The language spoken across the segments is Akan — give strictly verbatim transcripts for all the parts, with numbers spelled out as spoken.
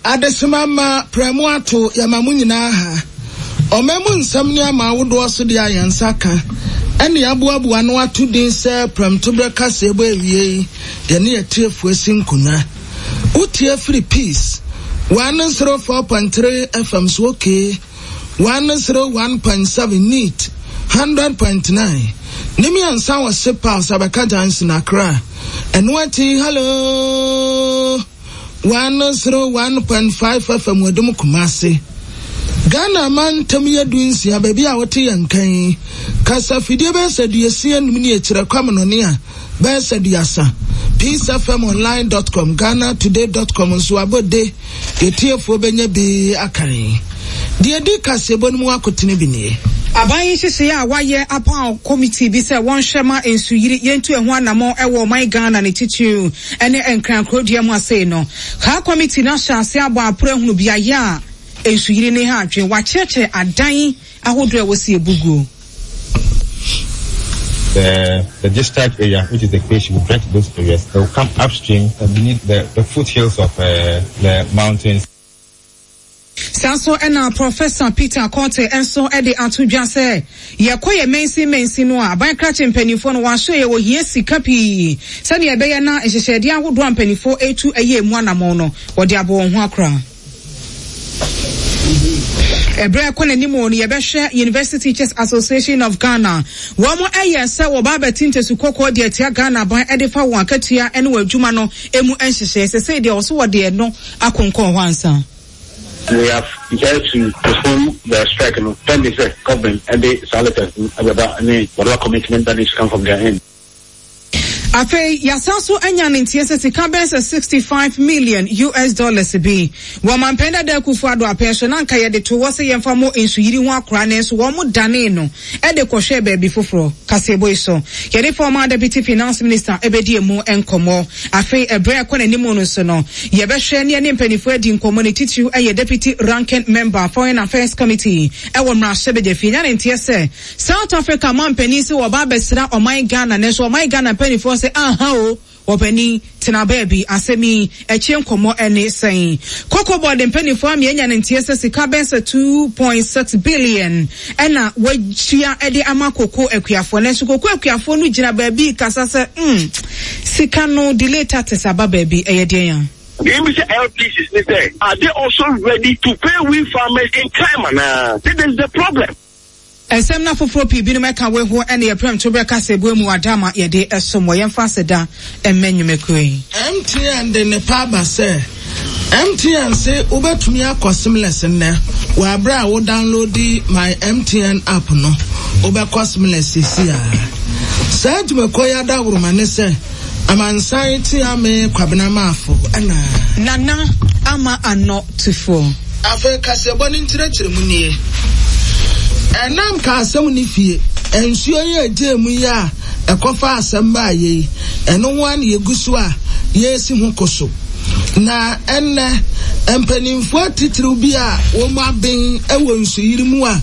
Adesima ma prɛmo ato yɛma mo nyinaa ha. Ɔman mu nsɛm ne ama ahodoɔ so deɛ a yɛn nsa ka ɛne aboaboa no ato din sɛ prɛmtoberɛ kaseɛbɔ awie yi, yɛne yɛtiefoɔ si nkonnwa. Wotie firi Peace one zero four point three F M so, okay, one zero one point seven, Neat one hundred point nine ne mmiɛnsa wɔ Sepa Sabaka Junction, Accra. Ɛno akyi, Hello one zero one point five F M wɔdum Kumase. Ghana mantam yɛ du nsia, baabi a wɔte yɛn kan kasa fidie bɛyɛ sɛ duesia num ne akyerɛ kwamonɔne a bɛyɛ sɛ duasa. peace F M online dot com, Ghana Today dot com nso abɔde yɛtiefoɔ bɛnya bi akan. Deɛ di kaseɛbɔ no mu akotene bi nie. Aban nhyehyɛeɛ a wayɛ apaw committee bi sɛ wɔnhwɛ ma nsuyiri yɛntu ɛho anammɔn ɛwɔ ɔman Ghana, ne titiriw ɛne Nkrankurodua mu asei no. Kaa committee no ahyɛ ase abɔ aporo ahunu beaeɛ a nsuyiri ne ha adwen. Wakyerɛkyerɛ adan ahodoɔ a wɔsi ebuguo. the, the discharge area, which is the creation, will drain to those areas. They will come upstream uh, beneath the, the foothills of uh, the mountains. Saa nso ɛna Professor Peter Conte nso de ato dwa sɛ yɛkɔ yɛ mansin mansin no a, aban krakye mpanimfoɔ no wɔahyɛ yɛ wɔhia sika pii sɛnea ɛbɛyɛ na nhyehyɛdeɛ ahodoɔ a mpanimfoɔ etu ɛyɛ emu anammɔn no, wɔde abɔ wɔn ho akora. Ɛberɛ ɛkɔ n'anim no, yɛbɛhwɛ University Teachers Association of Ghana, wɔn ɛyɛ sɛ wɔba abɛte ntasu kɔkɔɔ deɛ ɛtia Ghana aban ɛde fa wɔn akatua ɛne wɔn adwuma no emu nhyehyɛ sɛsɛ deɛ ɔso wɔde ɛno akonkɔn hɔ ansa. We have decided to postpone the strike. No, pending sɛ government and the letters ne whatever commitment that needs to come from their end. Afei yɛasan so anya ne nteɛ sɛ sika bɛn sɛ sixty-five million U S dollars bi wɔ mampɛn dada Akufo Ado apɛn so na nka yɛde to hɔ sɛ yɛmfa mo nsuyiri ho akora, ne nso wɔn mo dane no ɛde kɔhwɛ baabi foforɔ. Kaseɛbɔ yi so, yɛde former Deputy Finance Minister ɛbɛdi emu nkɔmmɔ. Afei ɛbrɛ ɛkɔ n'anim no nso no, yɛbɛhwɛ ne ɛne mpanimfoɔ adi nkɔmmɔ, ne titiriw ɛyɛ Deputy Ranking Member, Foreign Affairs Committee ɛwɔ mmarahyɛbadwafie. Nya ne nteɛ sɛ South Africa mampanin sɛ wɔba abɛsra ɔman Ghana, nanso ɔman Ghana mpanimfoɔ sɛ aha o, wɔpanin tena baabi. Asɛm yi akyi nkɔmmɔ ɛne sɛn? Cocoa Board mpanimfoɔ ama anya ne nteɛ sɛ sika bɛn sɛ two point six billion ɛna wɔatua ɛde ama koko akuafoɔ, nanso koko akuafoɔ no gyina baabi kasa sɛ mm sika no delay tactics aba baabi. Ɛyɛ deɛn ya? The M B C L P Cs ne sɛ, are they also ready to pay we farmers in time anaa? This is the problem. Ɛsɛm no afoforɔ pii binom ɛka wei ho ɛne yɛprɛm to berɛ kasa ebue mu adama yɛde ɛsom wɔ. Yɛmfa aseda ɛmmɛ nnwumakuo yi. M T N de ne pa aba sɛ M T N se wobɛtumi akɔ seamless nnɛ wɔ aberɛ a wo download My M T N app no, wobɛkɔ seamless sisi a. Saa dwumakuo yi adaworoma ne sɛ amansan tia me Kwabena Maafo ɛna Nana Ama Anɔ Tufoɔ. Afei kaseɛbɔ no nkyerɛkyerɛ mu nie. Ɛnam ka asɛm ne fie nsuo yi agye mu yi a ɛkɔfa asɛm baa yei, ɛno ho a na yɛgu so a yɛresi ho ko so. Na ɛnnɛ mpanimfoɔ atitiriw bi a wɔn aben wɔ nsuyiri mu a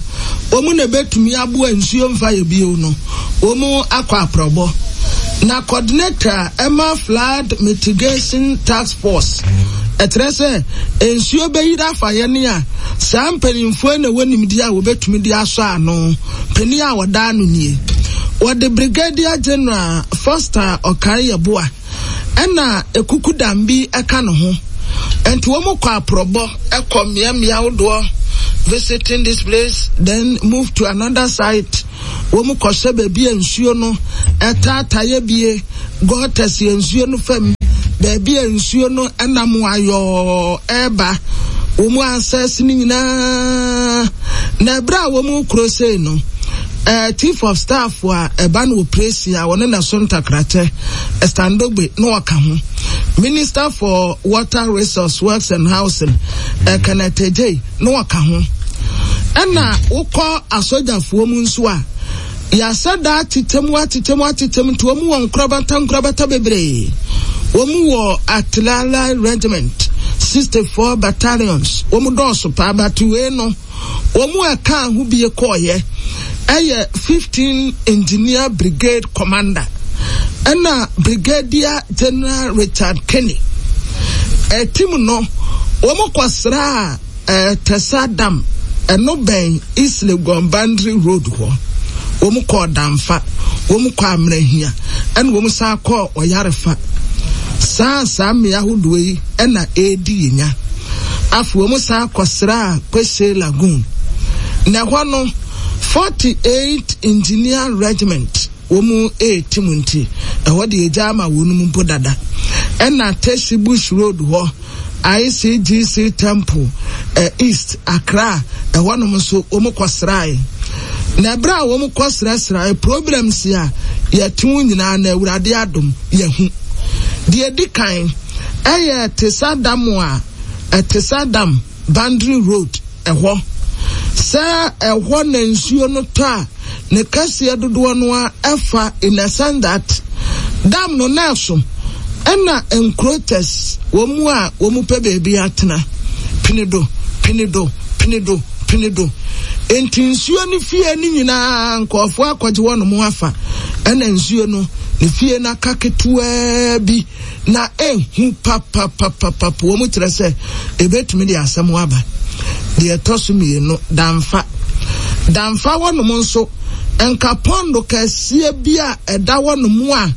wɔn na ɛbɛtumi aboa nsuo mfa yɛ bio no, wɔn akɔ aprɔbɔ. Na coordinator ɛma Flood Mitigation Task Force, ɛkyerɛ sɛ nsuo bɛyiri afa yɛn a, saa mpanimfoɔ na ɛwɔ nimdeɛ a wɔbɛtumi de asɔ ano. Panin a wɔda ano nie, wɔde Brigadier General Foster Ɔkare Yɛboa, ɛna ekuku dambi ɛka ne ho. Nti wɔn kɔ aprɔbɔ ɛkɔ mmeammea ahodoɔ, visiting this place, then move to another site. Wɔn kɔhyɛ baabi a nsuo no ɛtaataeɛ bie, gutters yɛ nsuo no fam, baabi a nsuo no ɛnam ayɔɔ ɛɛba. Wɔn asɛse no nyinaa na ɛberɛ a wɔn kuro sei no, ɛɛ Chief of Staff a ɛba no operation a wɔne na so ntakrakyɛ Standogbe na ɔka ho, Minister for Water Resource, Works and Housing, ɛ Kenneth Adjei na ɔka ho. Ɛna wokɔ asogyafoɔ mu nso a, yɛasɛ daa atetɛmu atetɛmu atetɛmu, nti wɔn wɔ nkorabata nkorabata bebree. Wɔn wɔ Artillery Regiment, sixty four battalions, wɔn dɔɔso paa. But wei no, wɔn a ɛka ho bie kɔɔyɛ ɛyɛ fifteen Engineer Brigade Commander ɛna Brigadier General Richard Kenny. Ɛtim no Wɔn kɔsraa ɛɛ Tesa Dam, ɛno bɛn East Legon Boundary Road hɔ. Wɔn kɔɔ Damfa, wɔn kɔɔ Amerahia, ɛna wɔn san kɔɔ Ɔyarefa. Saa saa mmea ahodoɔ yi ɛna ɛredi yɛnya. Afei wɔn san kɔsraa Kweshe Lagoon. Na ɛhɔ no, forty-eight Engineer Regiment wɔn ɛreti mu nti, ɛhɔ de egya ama wɔn mu mpo dada. Ɛna Teshie Bush Road hɔ, I C G C Temple, uh, East Accra, ɛhɔnom nso wɔn kɔsrae. Na ɛberɛ a wɔn kɔsrasrae, problems a yɛte ho nyinaa na Awurade adom yɛhu. Deɛ di kan ɛyɛ Tesa Dam a ɛtesa Dam Boundary Road ɛhɔ. Sɛ ɛhɔ na nsuo no tɔ a, ne kɛseɛ dodoɔ no a ɛfa, in a sense that dam no nɛɛso ɛna encroachers, wɔn mu a wɔn pɛ beebi atena, pinido pinido pinido pinido, nti nsuo no fie no nyinaa nkɔɔfoɔ akɔgye wɔn mo afa, ɛna nsuo no ne fie no aka ketewaa bi na ehu papapapapa. Wɔn kyerɛ sɛ ebetumi de asɛm aba. Deɛ ɛtɔ so mmienu, Damfa. Damfa wɔnom nso, nka pond kɛseɛ bi a ɛda wɔnom a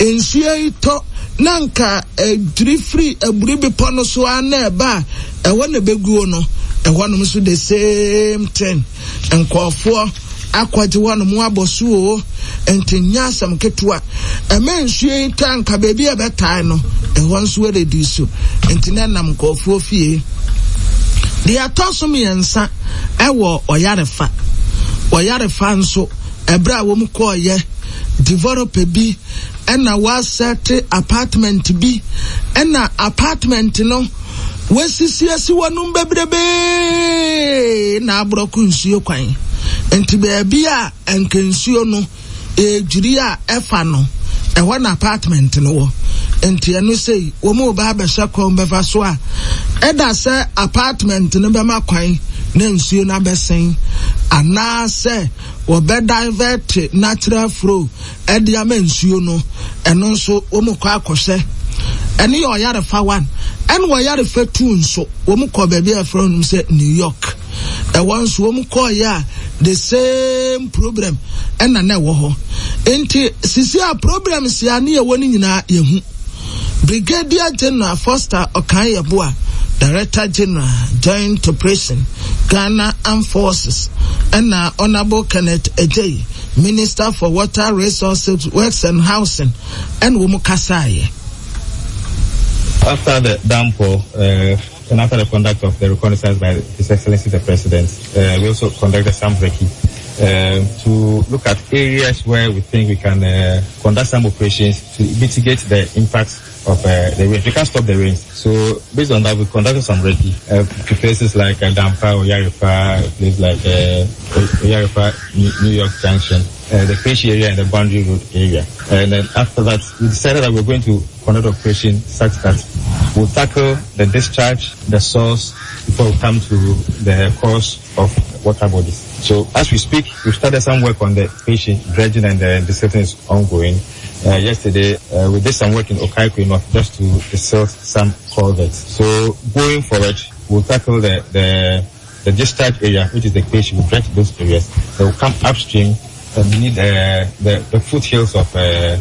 nsuo yi tɔ na nka edwiri firi Aburi Bepɔ no so a na ɛba a ɛhɔ na ɛbɛguo no, ɛhɔnom nso the same thing, nkɔɔfoɔ akɔgye wɔnom abɔ so o, nti nyɛ asɛm ketewa. Ɛmɛ nsuo yi tɔ a, nka baabi a ɛbɛtae no, ɛhɔ nso ɛredi so, nti na ɛnam nkɔɔfoɔ fie. Deɛ ɛtɔ so mmiɛnsa, ɛwɔ Ɔyarefa. Ɔyarefa nso, ɛberɛ a wɔn kɔɔyɛ, developer bi ɛna wasɛte apartment bi, ɛna apartment no wasisi asi wɔnom bebrebee na aborɔko nsuo kwan, nti baabi a nka nsuo no edwiri a ɛfa no, ɛhɔ na apartment no wɔ. Nti ɛno sei wɔn mu ba abɛhyɛ kwan bɛfa so a ɛda sɛ apartment no bɛma kwan na nsuo no abɛsɛn, anaasɛ wɔbɛ divert natural flow ɛde ama nsuo no, ɛno nso wɔn kɔ akɔhyɛ. Ɛno yɛ Ɔyarefa one. Ɛna Ɔyarefa two nso, wɔn kɔ baabi a yɛfrɛ no sɛ New York. Ɛwɔ nso wɔn kɔɔyɛ a, the same problem ɛna na ɛwɔ hɔ. Nti sisi a problem si a ne yɛwɔ no nyinaa yɛhu. Brigadier General Foster Okai Yeboah, Director General, Joint Operation, Ghana Armed Forces, ɛna Honourable Kenneth Adjei, Minister for Water Resources, Works and Housing, ɛna wɔn kasaeɛ. After the downpour, uh, and after the conduct of the reconnaissance by His Excellency the President, uh, we also conducted some recce uh, to look at areas where we think we can uh, conduct some operations to mitigate the impacts of uh, the rain. We can't stop the rains. So based on that, we conducted some recce uh, to places like uh, Damfa or Yarifa, places like uh, Oyarifa, New York Junction, uh, the Kweshi area and the Boundary Road area. And then after that, we decided that we're going to conduct operation such that we'll tackle the discharge, the source, before we come to the cause of water bodies. So as we speak, we've started some work on the Kweshi dredging, and the desilting is ongoing. Uh, yesterday, uh, we did some work in Okaikoi North just to desilt some culverts. So going forward, we'll tackle the, the, the discharge area, which is the Kweshi. We'll dredge those areas. They will come upstream uh, beneath uh, the, the foothills of uh,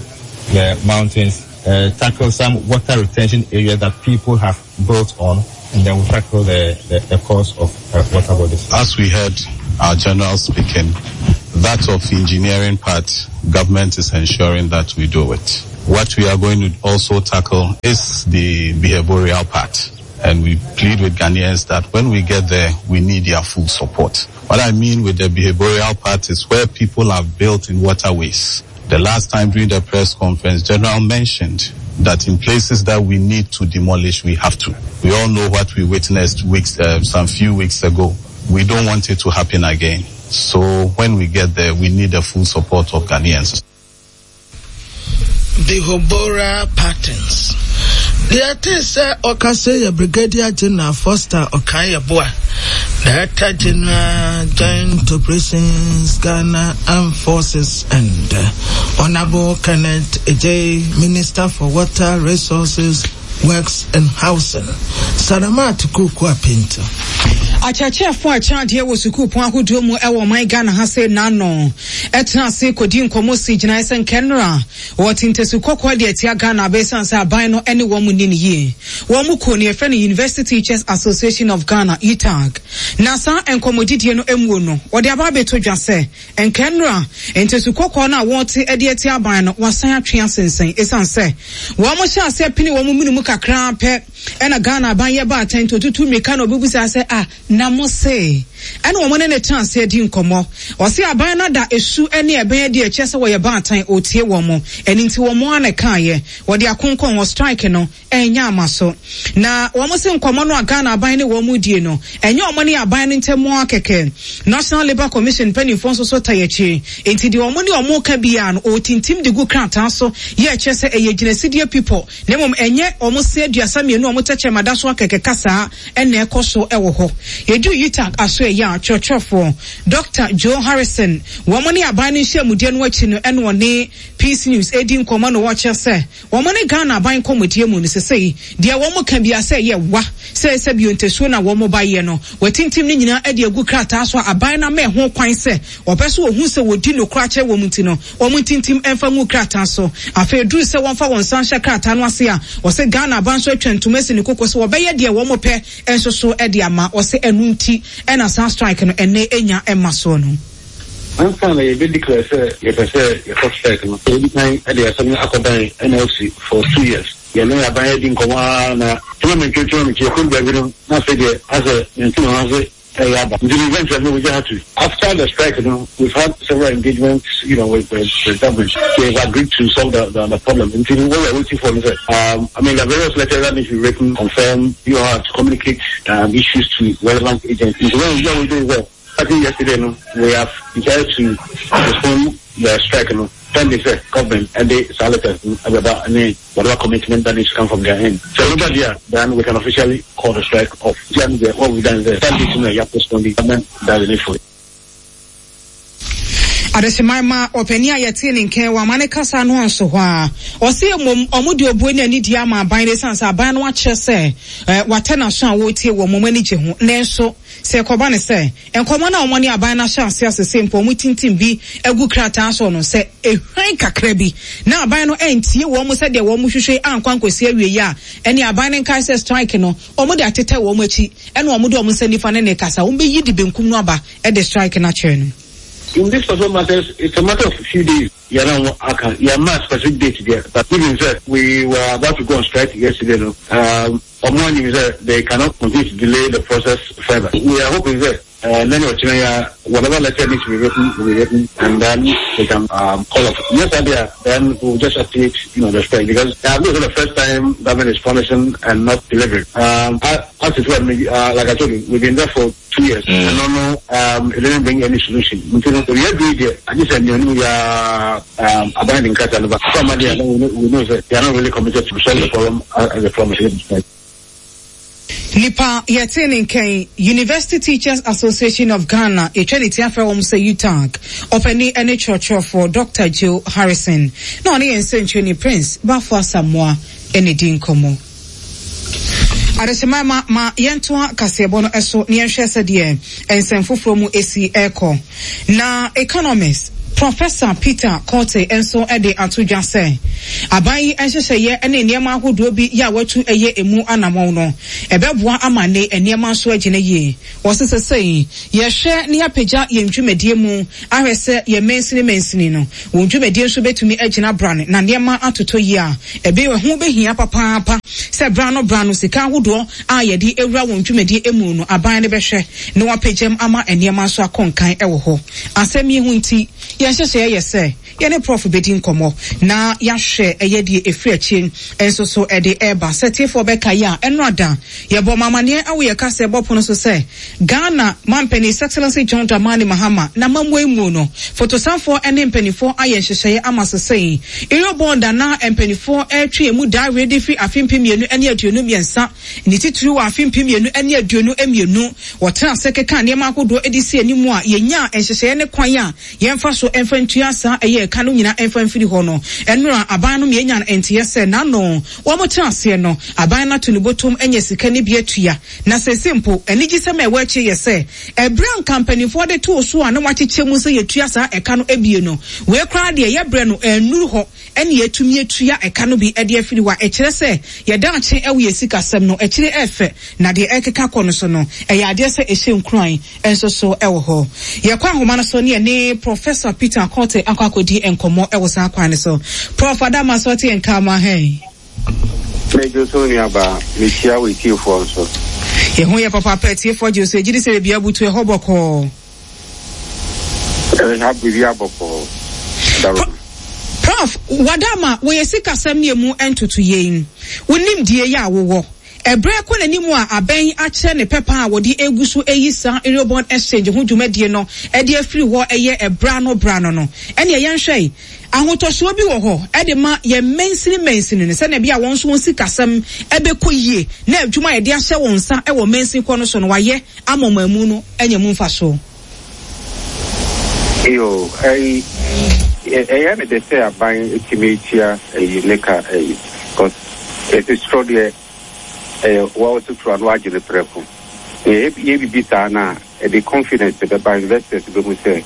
the mountains, uh, tackle some water retention area that people have built on, and then we'll tackle the, the, the cause of uh, water bodies. As we heard our general speaking, that of engineering part, government is ensuring that we do it. What we are going to also tackle is the behavioral part. And we plead with Ghanaians that when we get there, we need their full support. What I mean with the behavioral part is where people have built in waterways. The last time during the press conference, General mentioned that in places that we need to demolish, we have to. We all know what we witnessed weeks, uh, some few weeks ago. We don't want it to happen again. So when we get there, we need the full support of Ghanaians. Behavioral patterns. Deɛ ɛte sɛ ɔkasa yɛ Brigadier General Foster Okai Yeboah, Director General, Joint Operations, Ghana Armed Forces, and uh, Honorable Kenneth Adjei, Minister for Water Resources, Works and Housing. Salamat Kuku Apinto. Akyerɛkyerɛfoɔ a ɛkyerɛ adeɛ wɔ sukuupɔn ahodoɔ mu ɛwɔ ɔman Ghana ha sɛ n'ano ɛtena ase kɔdi nkɔmmɔ si gyinaeɛ sɛ nkɛnora wɔte ntasu kɔkɔɔ de atia Ghana abɛsiane sɛ aban no ne wɔn mu ni ne yie. Wɔn mu kuo no yɛfrɛ no University Teachers Association of Ghana, U T A G. Na saa nkɔmmɔdidie no mu no, wɔde aba abɛto dwa sɛ nkɛnora ntasu kɔkɔɔ no a wɔte de atia aban no wasan atwe asensɛn, ɛsiane sɛ wɔn mo hyɛ aseɛ pene wɔn mu mu kakraa pɛ ɛna Ghana aban yɛ baatan nti otutu mmirika na obibusa sɛ, "Ah, na mo se?" Ɛna wɔn ne ne tena ase adi nkɔmmɔ. Ɔse aban no da esu ne ɛbɛn adi ɛkyɛ sɛ wɔyɛ baatan otie wɔn mo. Ɛno nti wɔn mo ana kaayɛ wɔde akonkɔn wɔ strike no ɛnyɛ ama so. Na wɔn se nkɔmmɔ no a Ghana aban ne wɔn mu die no, ɛnyɛ wɔn ne aban no ntɛm akɛkɛ. National Labour Commission mpanimfoɔ nso so ta akyi, nti deɛ wɔn ne wɔn ka biara no, ɔtintim de gu krataa so yɛ ɛkyɛ sɛ ɛyɛ gyinasidie pipɔ, na mmom ɛnyɛ wɔn se aduasa mmienu a wɔn tɛkyɛma da so akɛkɛ kasaa ɛna ɛkɔ so ɛwɔ hɔ. Yɛdu U T A G aso ɛyɛ a kyerɛkyerɛfoɔ Doctor Joe Harrison, wɔn ne aban no nhyiamudie no akyi no, ɛna ɔne Peace News edi nkɔmmɔ no, wɔkyerɛ sɛ wɔn ne Ghana aban nkɔmmɔdie mu no, sesei deɛ wɔn ka bia sɛ ɛyɛ wa sɛ sɛ bio ntasuo na wɔn ba yɛ no, wɔtintim no nyinaa de agu krataa so a aban no ama ɛho kwan sɛ wɔpɛ so wɔhu sɛ wɔdi nokora kyerɛ wɔn, nti no wɔn ntintim mfa ngu krataa so. Afei duru sɛ wɔmfa wɔn nsa nhyɛ krataa no ase a, wɔsɛ Ghana aban so atwa ntoma asi ne koko sɛ wɔbɛyɛ deɛ wɔn pɛ nso so de ama. Wɔsɛ ɛno nti ɛna saa strike no ɛnɛ enya ɛma soɔ no. Ansa na yɛbɛ declare sɛ yɛpɛ sɛ yɛkɔ strike no, yɛdi kan de asɛm no akɔdan N L C for two years. Yɛne aban adi nkɔmmɔ ara na tuma mentwe tuma mentwe yɛkɔ baabi no, na afei deɛ asɛ yɛnte ne ho ase ɛyɛ aba. Nti eventually we just had to. After the strike, you know, we've had several engagements, you know, with, with, with government. They've agreed to solve the, the, the problem. Nti what we're waiting for is that, um, I mean, the various letters that need to be written, confirm, you have to communicate um, issues to relevant agencies. So what we do is that, starting yesterday, no, we have decided to postpone the strike, no, pending sɛ government ɛde saa letters no ɛbɛba ne whatever commitment that needs to come from their end. So remember there, then we can officially call the strike off. What we've done is that you know, you have postponed the government does the needful. Adehyemman ma ɔpanin a yɛte ne nkɛn wɔ amane kasa no anso hɔ a, ɔse mmom ɔmo de obuo ne anidie ama aban no, ɛsiane sɛ aban no akyerɛ sɛ ɛɛ watɛ n'aso a wɔretie wɔ mo ani gye ho. Nanso sɛ ɛkɔba ne sɛ nkɔmɔ no a wɔn ne aban no ahyɛ ase asese mpo ɔmo tintim bi agu krataa so no, sɛ ehwan kakra bi na aban no ɛntie wɔn mo sɛdeɛ wɔn mo hwehwɛ ankɔ ankɔsi awie yi a, ɛne aban no nkae sɛ strike no wɔn de atetɛ wɔn akyi, ɛna wɔn de wɔn nsa nifa ne ne kasa wɔn bɛyi de benkum no aba ɛde strike no akyerɛ no. In this particular matters, it's a matter of a few days. Yeah, no, I can, yeah, my specific date there. But even sɛ we were about to go on strike yesterday, no, um, on one is they cannot continue to delay the process further. We are hoping that uh, then whatever letter needs to be written will be written, and then they can um, call off. Yes, idea. Then we'll just activate, you know, the strike because uh, this is the first time government is promising and not delivering. Um, as it were, uh, like I told you, we've been there for two years. Mm. And no, no, um, it didn't bring any solution. I just said, we are um, abandoning Somebody, we know that they are not really committed to solve the problem as a promise. Nipa yɛte ne nkɛn, University Teachers Association of Ghana, yɛtwa ne ti afrɛ wɔn sɛ U T A G, ɔpanin ne kyerɛkyerɛfoɔ Doctor Joe Harrison, na ɔne yɛn nsɛntwerɛni Prince Bafo Asamoa ɛna di nkɔmmɔ. Adehyema ma ma yɛntoa kaseɛbɔ no ɛso na yɛnhwɛ sɛdeɛ nsɛm foforɔ mu esi ɛrekɔ. Na economist Professor Peter Quartey nso de ato dwa sɛ aban yi nhyehyɛeɛ ne nneɛma ahodoɔ bi yɛ a watu ɛyɛ emu anammɔn no, ɛbɛboa ama ne nneɛma nso agyina yie. Wɔse sɛsɛi yɛhwɛ ne yɛapagya yɛn dwumadie mu ahwɛ sɛ yɛn mansini mansini no wɔn dwumadie nso bɛtumi agyina brane na nneɛma atotɔ yie a, ɛbɛ ɛho bɛhia papaapa sɛ bra no bra no sika ahodoɔ a yɛde ewura wɔn dwumadie mu no, aban no bɛhwɛ na wapagyam ama nneɛma nso akɔ nkan ɛwɔ hɔ. Asɛm yi ho nti, yɛn nhyehyɛeɛ yɛ sɛ yɛne Prof bɛdi nkɔmmɔ na yɛahwɛ ɛyɛ deɛ ɛfiri akyire nso so ɛde ɛreba. Sɛ tiefoɔ bɛka yi a, ɛno ada yɛbɔ mamaneɛ ɛwɔ yɛ kasa ɛbɔ pono so sɛ Ghana mampanin, His Excellency John Dramani Mahama, na mamua mu no, fotosanfoɔ ne mpanimfoɔ ayɛ nhyehyɛeɛ ama sesɛn Eurobond ana mpanimfoɔ ɛretwe emu daare de firi afe mpem mmienu ne aduonu mmiɛnsa, ne titiri wɔ afe mpem mmienu ne aduonu mmienu. Wɔtena ase keka nneɛma ahodoɔ de si anim a yɛnya nhyehyɛeɛ ne kwan a yɛmfa so mfa ntua saa ɛyɛ yɛ ɛka no nyinaa ɛmfa mfiri hɔ no. Ɛnora aban no mmiɛnya nteɛ sɛ n'ano wɔn tena aseɛ no, aban no ato ne bɔtɔm anya sika ne bi atua. Na sɛsɛ mpo anigyesɛm a ɛwɔ akyire yɛ sɛ ɛberɛ a nka mpanimfoɔ de too so a na wɔakyekyɛ mu sɛ yɛtua saa ɛka no ebie no, wei koraa deɛ yɛbrɛ no ɛnnuru hɔ ɛne yɛtumi atua ɛka no bi ɛde afiri hɔ a ɛkyerɛ sɛ yɛda akye ɛwɔ yɛ sikasɛm no akyire ɛfɛ na deɛ ɛkeka kɔ no so no ɛyɛ adeɛ sɛ ɛhyɛ nkuran nso so ɛwɔ hɔ. Yɛkɔ ahoma no so ne yɛne Professor Peter Quartey akɔ akɔdi nkɔmmɔ ɛwɔ saa kwan no so. Prof Adama so ɔte yɛn ka ma hɛn. Mɛdwo so nuabaa, mekyia wo etiefoɔ nso. Yɛho yɛ papaapa, atiefoɔ gye so gyidi sɛ baabi abutu ɛhɔ bɔkɔɔ. Ɛha biribi abɔkɔɔ. Dawuro. Prof, wadama wɔyɛ sikasɛm ne emu ntoto yɛn. Wonim die yɛ a wowɔ. Ɛberɛ kɔ n'anim a abɛn akyerɛ ne pɛpa a wɔde egu so eyi saa Eurobond exchange ho dwumadie no ɛde afiri hɔ ɛyɛ ɛbra no bra no no. Ɛne ɛyɛ nhwɛ yi, ahotɔsoɔ bi wɔ hɔ ɛde ma yɛn mansini mansini no sɛnea bi a wɔn nso wɔn sikasɛm ɛbɛkɔ yie na adwuma a yɛde ahyɛ wɔn nsa ɛwɔ mansini kɔ no so no wayɛ ama ɔman mu no anya mu mfasoɔ. Yo, ɛyi ɛyɛ me de sɛ aban etimi etua ɛyi ne ka ɛyi because ɛsi soro deɛ ɛyɛ wɔn sotura no agye ne prɛko. Yɛ yɛ bibi saa na ɛde confidence bɛba investors bɛhu sɛ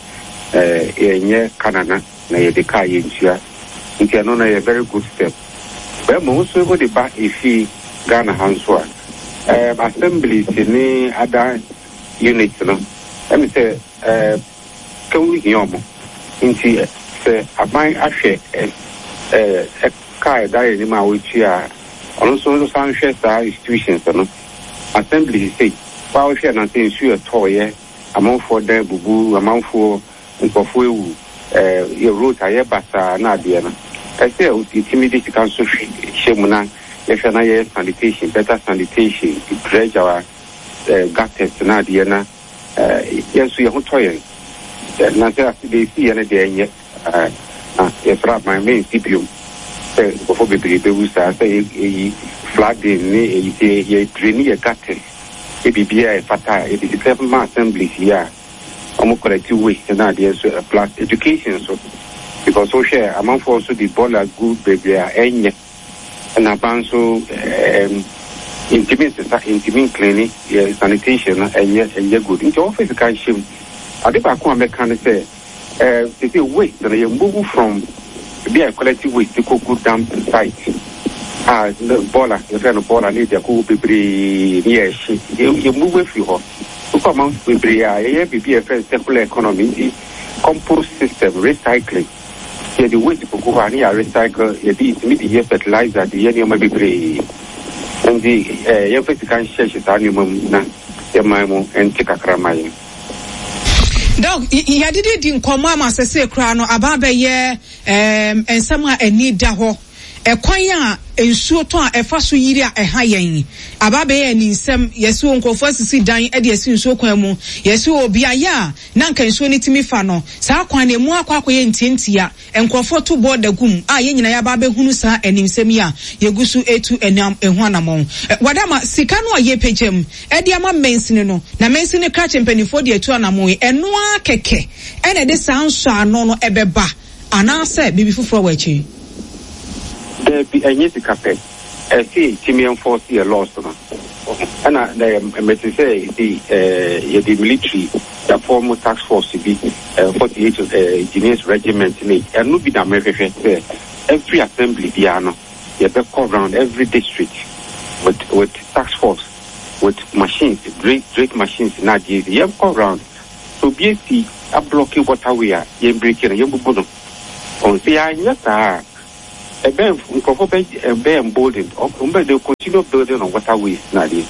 ɛɛ yɛnyɛ kanana na yɛde kaa yɛntua, nti ɛno no yɛ very good step. Bɛrima nso wode ba efi Ghana ha nso a, ɛɛ assemblies ne other units no, ɛmi sɛ ɛɛ kɛwu hia ɔmo, nti sɛ aban ahwɛ ɛ ɛɛ ɛka ɛda yɛn anim a wɔtua a, ɔno nso san hwɛ saa institutions no, assemblies sei wa wohwɛ na sɛ nsuo ɛtɔɔyɛ, amanfoɔ dan bubu, amanfoɔ nkurɔfoɔ ewu, ɛɛ yɛ road ayɛ basaa na adeɛ no, ɛsɛ yɛtumi de sika nso hyɛ mu na yɛhwɛ na yɛyɛ sanitation, better sanitation, dredge our ɛɛ gutters na adeɛ na ɛɛ yɛn nso yɛn ho tɔ yɛn. Na sɛ ase de esi yɛ no deɛ ɛnyɛ ɛɛ na yɛsrɛ aban mɛnsi biom sɛ nkurɔfoɔ bebree bɛwu saa sɛ eyi flooding ne eyi sɛ yɛ drain yɛ gutters, ebi biribiara ɛfata a yɛde sika ma assemblies yi a wɔn collect waste na adeɛ nso, plus education nso, because wohwɛ amanfoɔ nso de bɔɔla gu bebree a ɛnyɛ, ɛna aban nso ɛɛm ntumi nsesa, ntumi nclean yɛ sanitation no, ɛnyɛ ɛnyɛ good, nti wɔfɛ sika nhyɛ mu. Ade baako a mɛka ne sɛ ɛɛ sese waste no yɛ move from ebi a collect waste kɔ gu dump site a bɔɔla, yɛfrɛ no bɔɔla, ne yɛde akɔgu bebree ne yɛ ɛhye, yɛ move afiri hɔ. Wokɔ aman bebree a yɛyɛ biribi a yɛfrɛ no circular economy, nti compost system, recycling, yɛde waste kɔgu hɔ a ne yɛ recycle, yɛde tumi de yɛ fertilizer, de yɛ nneɛma bebree, nti ɛɛ yɛmfa sika nhyehyɛ saa nneɛma mu na yɛman mu nte kakra ma yɛn. Doc, yɛdede di nkɔmmɔ ama sɛsɛ koraa no aba bɛyɛ ɛɛm nsɛm a ani da hɔ, ɛkwan a nsuo tɔ a ɛfa so yiri a ɛha yɛn aba bɛyɛ ani nsɛm. Yɛsi wɔ nkurɔfoɔ asisi dan ɛde asi nsuo kwan mu, yɛsi wɔ beaeɛ a na nka nsuo no tumi fa no, saa kwan no emu akɔ akɔyɛ ntiantia, nkurɔfoɔ to bɔɔda gum a yɛn nyinaa yɛaba abɛhunu saa animsɛm yi a yɛgu so etu ɛnam ɛho anammɔn. Wadama sika no a yɛpagya mu ɛde ama mansini no na mansini krakye mpanimfoɔ de atu anammɔn yi, ɛnoa kɛkɛ ɛna ɛde saa nsɔano no ɛbɛba anaasɛ biribi foforɔ wɔ akyiri? Daabi, ɛnyɛ sika pɛ, ɛsɛ tumi enforce yɛ laws no, ɛna mɛte sɛ ɛsi ɛɛ yɛde military yɛaform task force bi, forty eight engineers regiment, ne ɛno bi na mɛhwehwɛ sɛ every assembly biara no yɛbɛkɔ round every district with with task force, with machines, drake drake machines na adeɛ bi, yɛnkɔ round so obi esi ablock waterway a, yɛn break no, yɛn bubu no ɔn. Sɛ yɛanyɛ saa a, ɛbɛn nkurɔfoɔ bɛ ɛbɛn emboldened, ɔmo bɛ they continue building on waterways na adeɛ,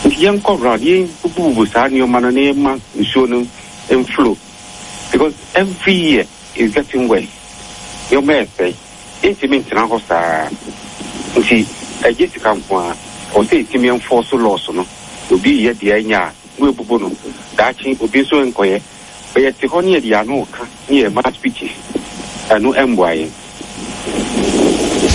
nti yɛn kɔ round, yɛn bubububu saa nneɛma no na yɛn ma nsuo no nflow, because every year is getting worse. Nneɛma ɛsɛe, yɛntumi ntena hɔ saa, nti ɛgye sika nko a ɔsɛ yɛtumi enforce laws no. Obi yɛ deɛ ɛnyɛ a, mo ebubu no, daakye obi nso nkɔyɛ bɛyɛ te hɔ ne yɛde ano ka ne yɛ ma speeches, ɛno ɛmboa yɛn.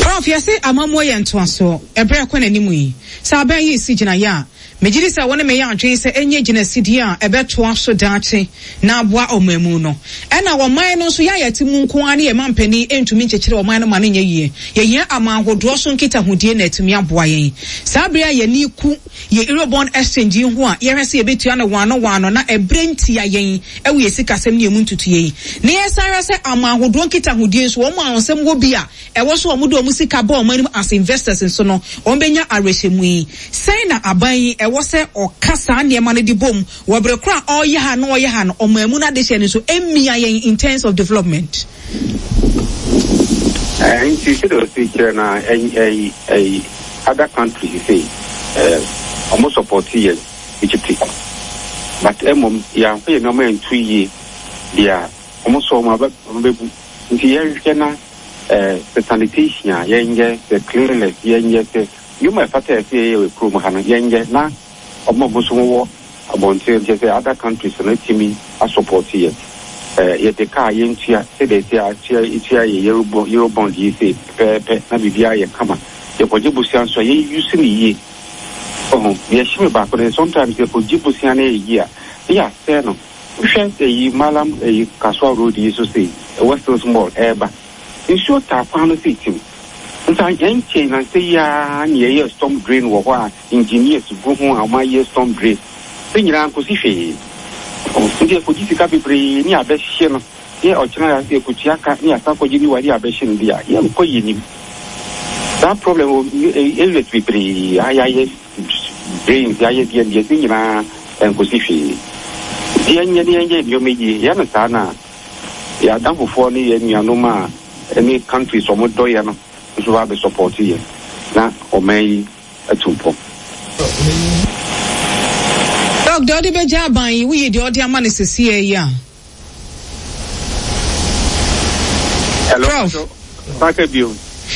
Prof, yɛse amammuo yɛ ntoasoɔ. Ɛberɛ ɛkɔ n'anim yi, sɛ abɛn yi si gyinaeɛ a Megye di sɛ wo ne me yɛ adwene sɛ ɛnyɛ gyinasidie a ɛbɛtoa so daakye na aboa ɔman mu no. Ɛna ɔman no nso, yɛ a yɛte mu nko ara ne yɛn mampanin ntumi nkyekyere ɔman no ma no nyɛ yie. Yɛhia aman ahodoɔ so nkitahodie na atumi aboa yɛn. Saa bere a yɛni ku yɛ Eurobond exchange yi ho a yɛhwɛ sɛ yɛbɛtua no waano waano na ɛberɛ ntia yɛn ɛwɔ yɛ sikasɛm ne emu ntutuo yi. Na yɛsan hwɛ sɛ aman ahodoɔ nkitahodie nso, wɔn a nsɛm wɔ bi a ɛwɔ so wɔn de wɔn sika bɔ wɔn anim as investors nso no, wɔn bɛnya awerɛhyɛmu yi. Sɛn na aban yi ɛwɔ sɛ ɔka saa nneɛma no de bom wɔ bere koro a ɔreyɛ ha na ɔyɛ ha no, ɔman mu no adehyɛ no nso mmia yɛn in terms of development? Nti sɛdeɛ ɔsi kyerɛ no a, ɛyi ɛyi other countries sei, ɔmo support yɛn tete, but mmom yɛamfa yɛn nneɛma nto yie deɛ, ɔmo sɔ ɔmo abɛ ɔmo bɛbu. Nti yɛnhwɛ na sɛ sanitation a yɛnyɛ, sɛ cleanliness yɛnyɛ, sɛ nneɛma a ɛfata yɛ sɛ yɛyɛ wɔ kurom ha no yɛnyɛ, na ɔmo a ɔmo nso wɔ abɔnten, kyerɛ sɛ other countries no, tumi asupport yɛ. Yɛde kaa yɛntua sɛdeɛ ɛsi atua etua yɛ Eurobond yi sɛ pɛpɛɛpɛ na biribiara yɛ kama. Yɛkɔgye bosia nso a, yɛuse no yie. Ɔho deɛ ɛhyɛ me baako no, sometimes yɛkɔgye bosia no yɛ yie a, ne yɛasɛe no. Wohwɛ ɛyi Malam ɛyi Kasoa road yi so sei, West Hills Mall ɛɛba, nsuo taa kwan no sei tim nsa ɛnkyɛn na nsɛ yi ara ne yɛyɛ storm drain wɔ hɔ a engineers gu ho a wɔn ayɛ storm drain sɛ nyinaa nkosi hwee. Nti yɛkɔgye sika bebree ne abɛhyɛ no, yɛ ɔkyena yɛkɔtua ka ne yɛasa kɔgye ne wa ne abɛhyɛ no bi a yɛnkɔ yɛ nim. Saa problem wɔ areas bebree a yɛayɛ drains, yɛayɛ deɛ deɛ ne nyinaa nkosi hwee. Nti yɛnyɛ ne yɛnyɛ nneɛma yie. Yɛ no saa na yɛ adamfofoɔ ne yɛ nuanom a ne countries ɔmo dɔ yɛ no nso ba abɛ support yɛ na ɔman yi atu mpɔn. Doc, deɛ ɔde bɛgya aban yi, woyi deɛ ɔde ama no sesie yi a? Hello. Prof. Paka bio.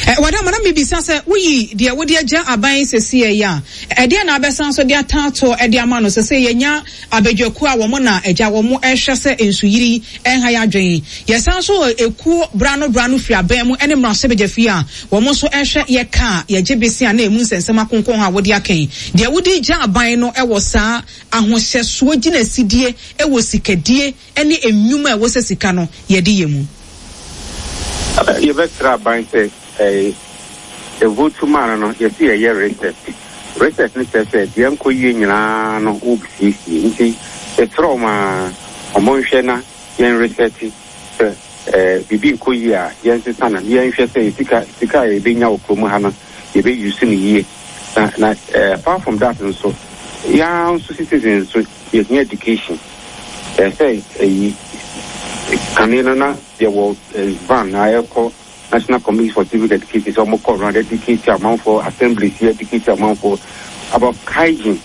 Eh, wadama na mebisa sɛ woyi deɛ wode agya aban yi sesie yi a, ɛdeɛ na abɛsan so de ataatoɔ ɛde ama no sɛ sɛ yɛnya abadwakuo a wɔn na agya wɔn ɛhwɛ sɛ nsuyiri ɛnha yɛ adwene. Yɛsan so wɔ ekuo brano brano firi aban mu ɛne mmarahyɛbadwafie a wɔn nso ɛhwɛ yɛ kaa yɛgye bese a na emu nsɛnsɛm akonkɔn a wɔde akɛn. Deɛ wode gya aban no ɛwɔ saa ahohyɛsoɔ gyinasidie ɛwɔ sikadie ɛne nnwuma a ɛwɔ sɛ sika no yɛde yɛ mu. Yɛbɛsrɛ aban sɛ ɛɛ vote maa no no yɛsi yɛyɛ reset. Reset no kyerɛ sɛ deɛ nkɔ yie nyinaa no wobɛsiesie, nti yɛsrɛ ɔmo a ɔmo nhwɛ na yɛn reset sɛ ɛɛ biribi nkɔ yie a yɛnsesa no, yɛnhwɛ sɛ sika sika a yɛbɛnya wɔ kurom ha no yɛbɛuse no yie. Na na ɛɛ apart from that nso, yɛn nso citizens nso yɛhia education. Ɛɛ sɛ ɛyi kane no na yɛwɔ van na yɛkɔ National Committee for Civic Education sɛ ɔmo kɔ round educate amanfoɔ, assemblies yɛ educate amanfoɔ about hygiene.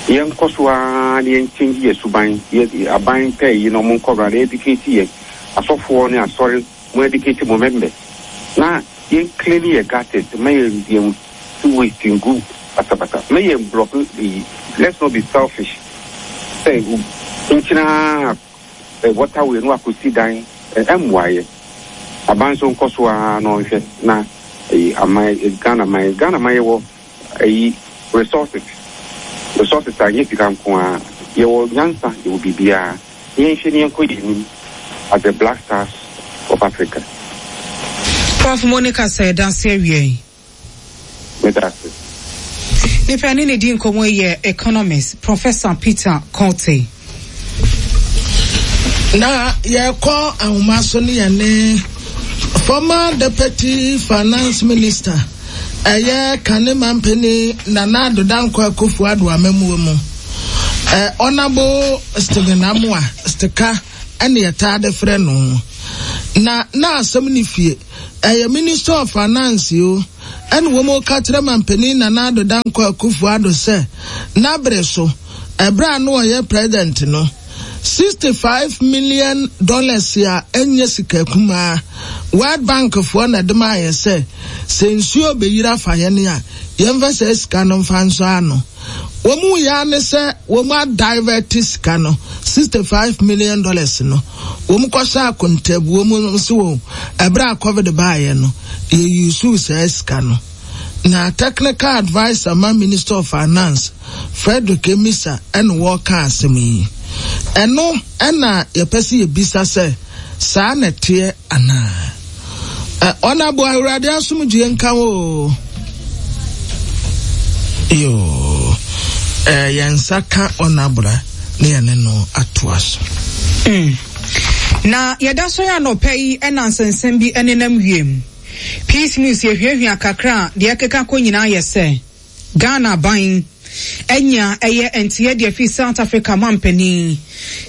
Yɛnkɔ so ara na yɛn change yɛ suban. Yɛ aban pɛɛ yi na ɔmo nkɔ round educate yɛn asɔfoɔ ne asɔre mo educate mo members na yɛn clean yɛ gutters, ma yɛn yɛn waste ngu basabasa, ma yɛn block yi. Let's not be selfish sɛ nkyinaa waterway no akɔsi dan ɛmmoa yɛ. Aban nso nkɔ so ara na ɔnhwɛ na ɛyi aman Ghana man Ghana man yɛwɔ ɛyi resources resources a nyɛ sika nko ara. Yɛwɔ nyansa, yɛwɔ biribiara. Yɛnhwɛ ne yɛnkɔ yɛn anim as the Black Stars of Africa. Prof Monica, sɛ ɛda ase awie yi. Meda ase. Nipa ne ne di nkɔmmɔ yi yɛ economist Professor Peter Quartey. Na yɛkɔ ahoma so ne yɛne former Deputy Finance Minister, ɛyɛ kane mampani Nana Addo Dankwa Akufo Addo amamuo mu, ɛ Honourable Stephen Amoah Stika ɛne yɛtaa de frɛ no. Na na asɛm ne fie ɛyɛ Minister of Finance o, ɛne wɔn ka kyerɛ mampanin Nana Addo Dankwa Akufo Addo sɛ n'abere so ɛberɛ a no ɔyɛ president no, sixty-five million dollars a ɛnyɛ sika kumaa, World Bank foɔ na ɛde maa yɛ sɛ sɛ nsuo bɛyiri afa yɛn a, yɛmfa sɛ sika no mfa nso ano. Wɔn mu yɛ ne sɛ wɔn adivert sika no, sixty-five million dollars no, wɔn kɔhyɛ akontabuo mu nso wɔ ɛberɛ a COVID baayɛ no, yɛyi saa sika no. Na technical adviser ma Minister of Finance, Frederick Amissah na wɔreka asɛm yi. Ɛno na yɛpɛ sɛ yɛbisa sɛ saa na ɛteɛ anaa? Ɔnabo Awurade asomdwoeɛ nka wo o. Yoo, eh, yɛn nsa ka ɔnabra na yɛne no atoa so. Mm. Na yɛda so yɛ anɔpa yi na nsɛnsɛm bi nenam wiem. Peace News yɛhwiahwia kakra a deɛ ɛkeka kɔ nyinaa yɛ sɛ Ghana aban anya ɛyɛ nteɛ deɛ firi South Africa mampanin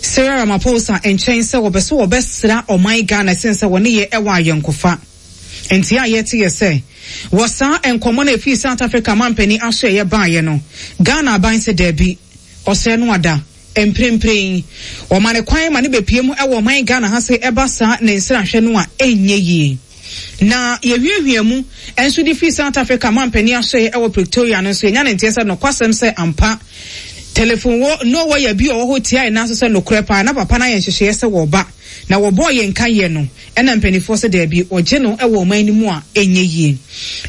Cyril Ramaphosa nkyɛn sɛ wɔbɛ so wɔbɛsra ɔman Ghana ɛsen sɛ wɔne yɛ ɛwɔ ayɔnkofa. Nteɛ a yɛte yɛ sɛ wɔ saa nkɔmmɔ no a ɛfiri South Africa mampanin aso ɛyɛ baeɛ no, Ghana aban sɛ daabi, ɔsɛe no ada. Mprempren, wɔma no kwan ma no bepue mu wɔ ɔman Ghana ha se ɛba saa ne nsrahwɛ no a ɛnyɛ yie. Na yɛhwiahwia mu nso de firi South Africa mampanin asoɛeɛ wɔ Pretoria no nso, yɛnya no nteɛ sɛ nokwasɛm sɛ ampa telefon wɔ no wɔ yɛ bi ɔwɔ hɔ tiae nanso sɛ nokorɛ paa na papa no ayɛ nhyehyɛeɛ sɛ wɔba na wɔbɔɔ yɛn nka yɛ no ɛna mpanimfoɔ sɛ daabi wɔgye no wɔ ɔman no mu a ɛnyɛ yie.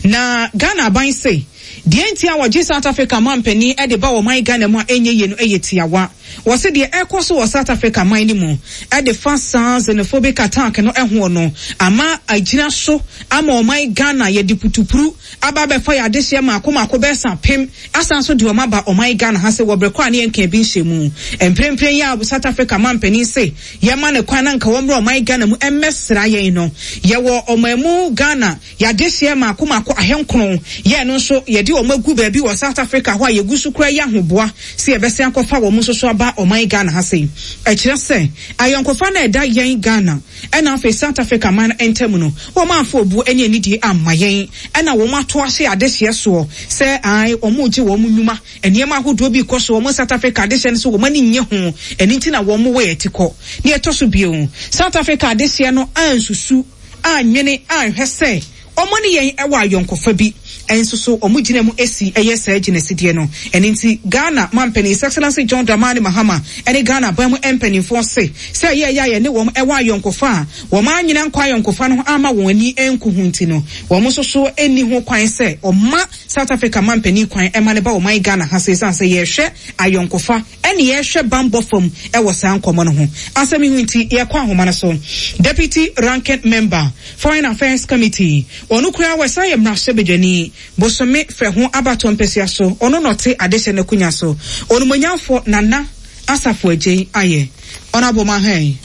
Na Ghana aban se deɛ nti a wɔgye South Africa mampanin de ba ɔman Ghana mu a ɛnyɛ yie no yɛ tiawa. Wɔse deɛ ɛrekɔ so wɔ South Africa man no mu de fa saa xenophobic attack no ho no ama agyina so ama ɔman Ghana yɛde putupuru aba abɛfa yɛn adehyeɛ mmaako mmaako bɛyɛ sɛ apem asan so de wɔn aba ɔman Ghana ha sɛ wɔ berɛ koraa ne yɛnka bi nhyɛ mu. Mprempren yi a South Africa mampanin se yɛma no kwan na nka wɔmmra ɔman Ghana mu mmɛsra yɛn no, yɛwɔ ɔman mu Ghana yɛadehyeɛ mmaako mmaako ahenkron, yɛn no nso yɛde wɔn agu baabi wɔ South Africa hɔ a yɛgu so koraa yi ahoboa sɛ yɛbɛsan akɔfa wɔn nso so aba ɔman Ghana ha sei. Ɛkyerɛ sɛ ayɔnkofa no a ɛda yɛn Ghana ɛna afei South Africa man no ntam no, wɔn amfa obuo ne anidie amma yɛn, ɛna wɔn ato ahyɛ adehyeɛ soɔ sɛ ae wɔn regye wɔn nnwuma, nneɛma ahodoɔ bi rekɔ so wɔn South Africa adehyeɛ no so wɔn ani nnye ho, ɛno nti na wɔn wɔ yɛn ti kɔ. Nea ɛtɔ so bio, South Africa adehyeɛ no ansusu, annwene, anhwɛ sɛ wɔn ne yɛn wɔ ayɔnkofa bi nso so wɔn gyina mu si yɛ saa gyinasideɛ no. Ɛno nti Ghana mampanin His Excellency John Dramani Mahama ne Ghana aban mu mpanimfoɔ se sɛ ɛyɛ ɛyɛ a yɛne wɔn wɔ ayɔnkofa a wɔn anyina nkɔ ayɔnkofa no ho amma wɔn ani nku ho nti no wɔn nso so nni ho kwan sɛ wɔma South Africa mampanin kwan ma no ba ɔman Ghana ha sɛ ɛsiane sɛ yɛrehwɛ ayɔnkofa ne yɛrehwɛ bammɔ fam wɔ saa nkɔmmɔ no ho. Asɛm yi ho nti yɛkɔ ahoma no so. Deputy Ranking Member, Foreign Affairs Committee, ɔno koraa wɔsan yɛ mmarahyɛbadwani, Bosome frɛ ho abatoɔ mpasua so, ɔno na ɔte adehyɛ no akonnwa so, Onumonyamfoɔ Nana Asafo Adjei ayɛ. Honourable Mahan.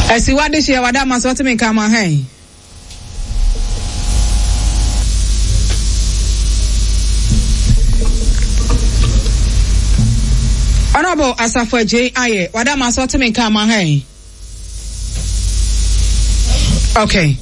Asiwa adehyeɛ wada ama sɛ ɔte me nka Mahan. Honorable Asafo Adjei ayɛ wada ma sɛ ɔte me nka ama ha yi. Okay.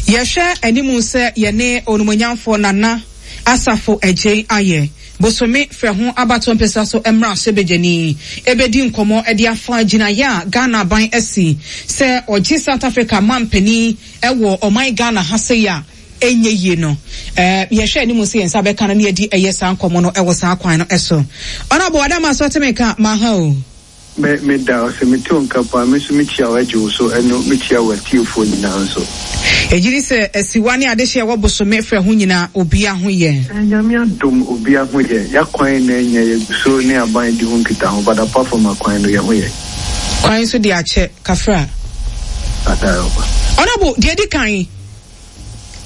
Yɛhwɛ anim sɛ yɛne onumonyamfoɔ Nana Asafo Adjei ayɛ bosome frɛ ho abatoɔ mpɛsua so mmra hyɛbadwani ebedi nkɔmmɔ de afa gyinaeɛ a Ghana aban asi sɛ ɔgye South Africa mampanin ɛwɔ ɔman Ghana ha sei a ɛnyɛ yie no, eh, yɛhwɛ anim sɛ yɛn nsa bɛka no na yɛadi ɛyɛ saa nkɔmmɔ no ɛwɔ saa kwan no ɛso. Honorable Adama so ɔte me nka maha o. Me me da ɔsɛ me te wo nka paa me nso me kyia wo agye wo so ɛno me kyia wo atiefoɔ nyinaa nso. Yɛgye di sɛ asiwa ne adehyeɛ ɛwɔ bosome frɛ ho nyinaa obia ho yɛ. Nyame adom obia ho yɛ, yakwan na ɛnyɛ yɛguso ne aban di ho nkitaho but apart from akwan no yɛ ho yɛ. Kwan nso de akyɛ, kafra. Honourable, deɛ ɛdi kan,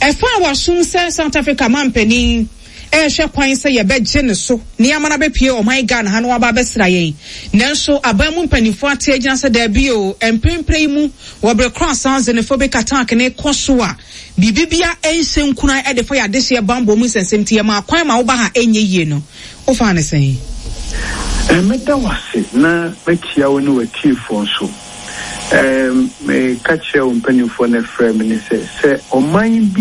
ɛfa a wasom sɛ South Africa mampanin ɛrehwɛ kwan sɛ yɛbɛgye ne so na yɛama no abɛpue ɔman Ghana ha na waba abɛsra yɛn. Nanso aban mu mpanimfoɔ ate agyina sɛ daabi o, mprempren yi mu wɔ bere korɔ a saa xenophobic attack no rekɔ so a biribi bia ɛnhyɛ nkuran de fa yɛn adehyeɛ bammɔ mu nsɛnsɛm nti yɛmaa kwan ma woba ha ɛnyɛ yie no, wofaa no sɛn? Mɛda wo ase na makyia wo ne w'atiefoɔ nso. Meka kyerɛɛ wo mpanimfoɔ no ɛfrɛɛ me no sɛ, sɛ ɔman bi